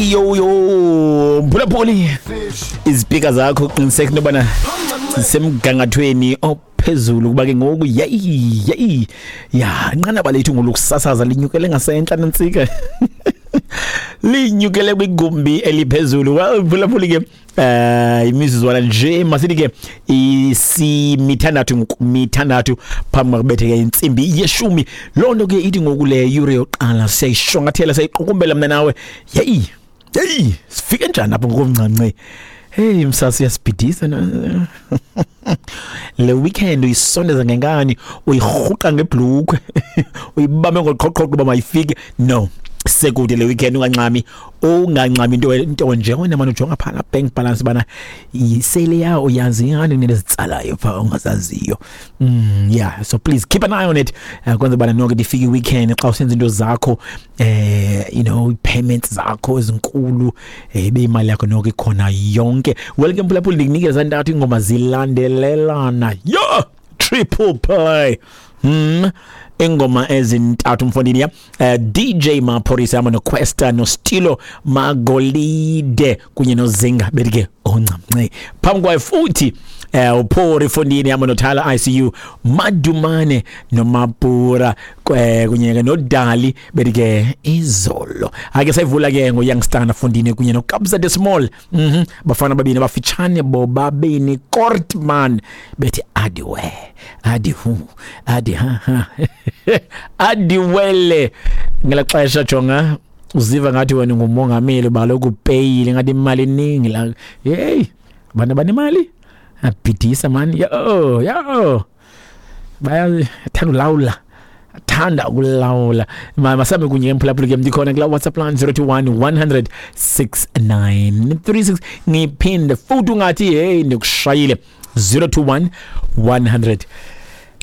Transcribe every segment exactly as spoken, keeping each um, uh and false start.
Yo yo, mphulaphuli, izipika zakho qiniseka into yobana zisemgangathweni ophezulu, kuba ke ngoku yeyi yeyi ya, inqanaba lethu ngolokusasaza linyukele ngasentla nantsika, linyukele kwigumbi eliphezulu. Well, mphulaphuli ke, eh imizuzwana nje, masithi ke isimithandathu ngoku, mithandathu phambi kwakubetheka intsimbi yeshumi. Loo nto ke ithi ngoku le yure yokuqala siyayishwankathela, siyayiqukumbela mna nawe. Yeyi yeyi, sifike njani apho ngokomncanci? Hey msasi, uyasibhidisa na- le weekend. Uyisondeza ngenkani, uyirhuqa ngebhlukhwe, uyibambe ngoqhoqhoqo uba mayifike. No, sekude le weekend, ungancami, ungancami into into nje. Wena manje ujonga phana bank balance bana isele yawo, uyazi ingane nezitsalayo pha ongazaziyo. mm yeah so please keep an eye on it, uh, kwenza bana nonke ifike weekend xa usenza into zakho, eh you know payments zakho ezinkulu, eh ibe imali yakho nonke ikhona yonke. Well ke mphulaphuli, ndikunikeza ntathu ingoma zilandelelana, yo, triple play. Hmm ingoma ezintathu mfondini ya uh, D J Maphorisa hamba noQuesta noStilo Magolide kunye noZinga, bethi ke oncamnce. Phambi kwayo futhi eh uPhori fondini hamba noThala I C U Madumane noMapura eh, kunye ke noDali, bethi ke izolo. Ake sayivula ke ngoYoungster fondini kunye noKabza de Small, mhm bafana babini abafitshane bobabini, Kortman, bethi adiwe adi hu adi ha ha adiwele. Ngela xesha jonga uziva ngathi wena ngumongameli, baloku upeyile, ngathi imali iningi la. Hey, abantu abanemali abhidisa man. Yo yo, bayathanda ulawula, thanda ukulawula. Ma- masambe kunye emphulaphuli ke, ndikhona kula WhatsApp line zero two one one hundred six nine three six. Ngiphinde futhi, ungathi hey, ndikushayile, zero two one one hundred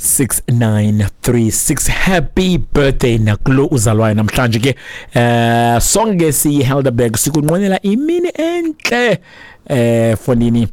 six nine three six. Happy birthday nakulo uzalwayo namhlanje ke. eh sonke siyiHelderberg sikunqwenela imini enhle eh fondini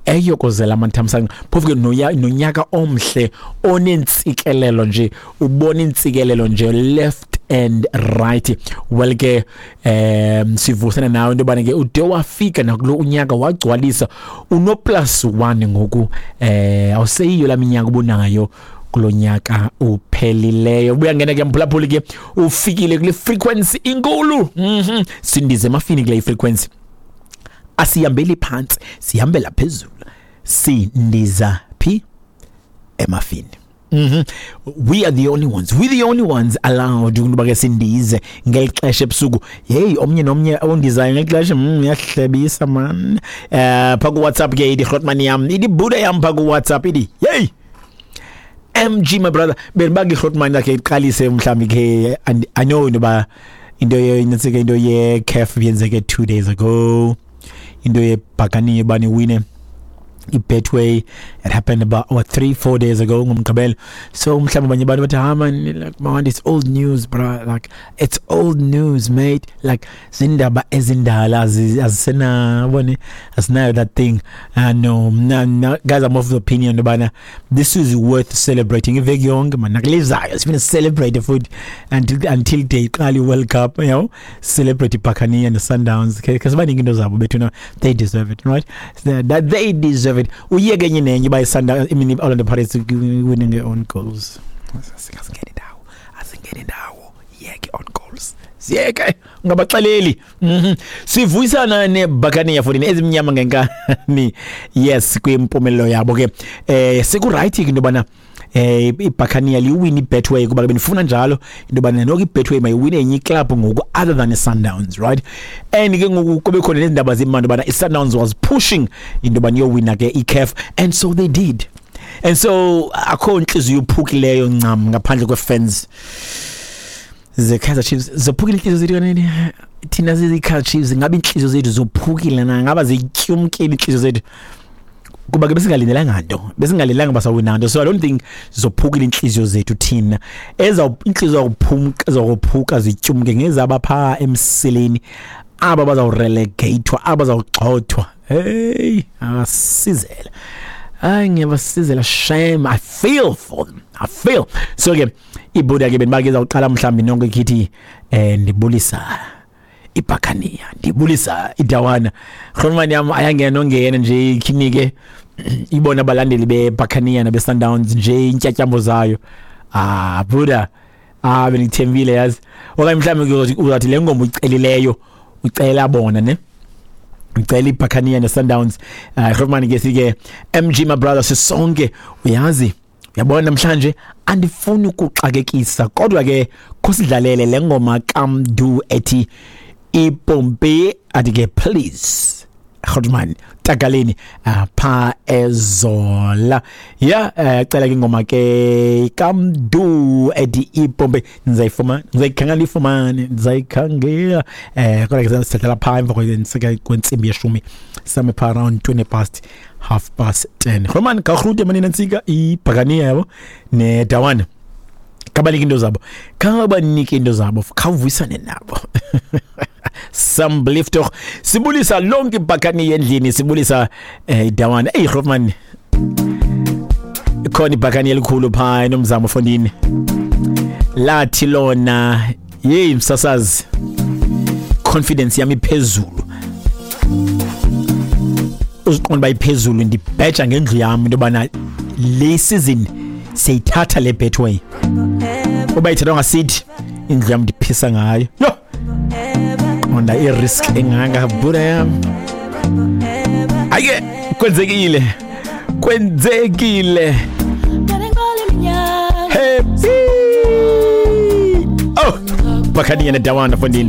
eyokozela amathamsanqa, phofu ke nonyaka omhle onentsikelelo nje, ubona intsikelelo nje left and right. Well ke, um sivusana nawe into yobana ke ude wafika nakulo unyaka, wagcwalisa, uno plus one ngoku. eh awuseyiyo laa minyaka ubunayo kulo nyaka uphelileyo. Ubuyangena ke mphulaphuli ke, ufikile kule frequency inkulu. mhm sindize emafini kule frequency, asihambeli phantsi, sihambela phezulu. Sindiza phi? Emafini. Mhm we are the only ones, we the only ones allowed ukuba ke sindize ngeli xesha ebusuku. Hey, omnye nomnye ondizayo ngeli xesha, mm uyahlebisa man. eh pha ku WhatsApp ke ithi Grootman yam, ithi Buddha yam pha ku WhatsApp, ithi hey M G my brother, benibanga iGrootman yakhe iqalise mhlawumbi ke, and I know into into ye into ye CAF yenzeke two days ago, into yebhakaniye bani wine iBetway, it happened about what, three four days ago ngomgqibelo. So mhlawumbe abanye abantu bathi, "Ah man, like man, it's old news bro, like it's old news mate, like zindaba ezindala azisena bone, asinayo that thing." uh, no, no no guys, I'm of the opinion bana this is worth celebrating iveki yonke man, nakulizayo sifuna celebrate futhi until until day iqala iWorld Cup, you know celebrate iBuccaneer and the Sundowns because baningi into zabo bethu. No, they deserve it, right? That they deserve it. Uyeke enye nenye uba iSundowns, I mean Orlando Pirates winning their own goals, asingene ndawo, asingene ndawo. Yeke own goals, siyeke, ungabaxeleli. mhm sivuyisana neBuccaneer futhi ezimnyama ngenkani, yes, kwimpumelelo yabo ke. eh seku right ke into bana eh iBuccaneer liwin iBetway, kuba benifuna njalo into bana noko iBetway mayiwine enye iclub ngoku other than iSundowns, right? And ke ngoku kube khona nezindaba zimandi bana iSundowns was pushing into bana yowina ke iCAF, and so they did, and so akho inhliziyo uphukileyo ncam ngaphandle kwefans ze-Kaizer Chiefs. Zophukile inhliziyo zethu kanene thina zizi-Kaizer Chiefs? Ngabe inhliziyo zethu zophukile na? Ngaba zityumkile inhliziyo zethu? Kuba ke besingalindelanga nto, besingalindelanga basawina nto, so I don't think zophukile inhliziyo zethu thina. Eza inhliziyo zakuphumka, zakuphuka zityumke ngezaba pha emsileni, aba bazawurelegatwa, aba bazawugxothwa. Hey, abasizela, hayi, ngiyabasizela shame, I feel for them, I feel so. Ke ibuda ke benibake izawuqala mhlawumbi nonke khithi eh ndibulisa ibhakaniya, ndibulisa idawana. Grootman yam ayangena ongena nje ikhinike ibona abalandeli bebhakaniya nabe-Sundowns nje intyatyambo zayo. Ah buda, ah bendikuthembile yazi. Okanye mhlawumbi uzathi le ngoma uyicelileyo ucela bona ne, ngicela ibhakaniya ne-Sundowns. uh, Grootman ke sike M G my brother sisonke, uyazi uyabona namhlanje andifuni ukuxakekisa, kodwa ke khosidlalele le ngoma kaMdu ethi ipompe, athi ke please Grootman takaleni pha ezola. Ya cela ke ingoma ke kaMdu ethi ipompe, ndizayifumana ndizayikhangela ifumane ndizayikhangela eh kodwa ke sithatha pha emva kwentsimbi yeshumi same pha around twenty past half past ten. Grootman kagrute manina ntsika ibhakaniya yabo nedawana, kabalike into zabo, kabanike into zabo, khawuvuyisane nabo. Sambliftoch sibulisa lonke ibhakani endlini, sibulisa eh, idawana. Ey Grootman ikhona ibhakani elikhulu pha enomzamo fondini, lathi lona yey msasazi confidence yami iphezulu, uziqonda bayiphezulu, ndibheja ngendlu yami into bana le season seyithatha le Betway, uba ithathwa ngasithi indlu yami ndiphisa ngayo. Yo qonda i-risk engaka buda yami. Ayike kwenzekile kwenzekile. Happy oh bakaniya nedawana fondini.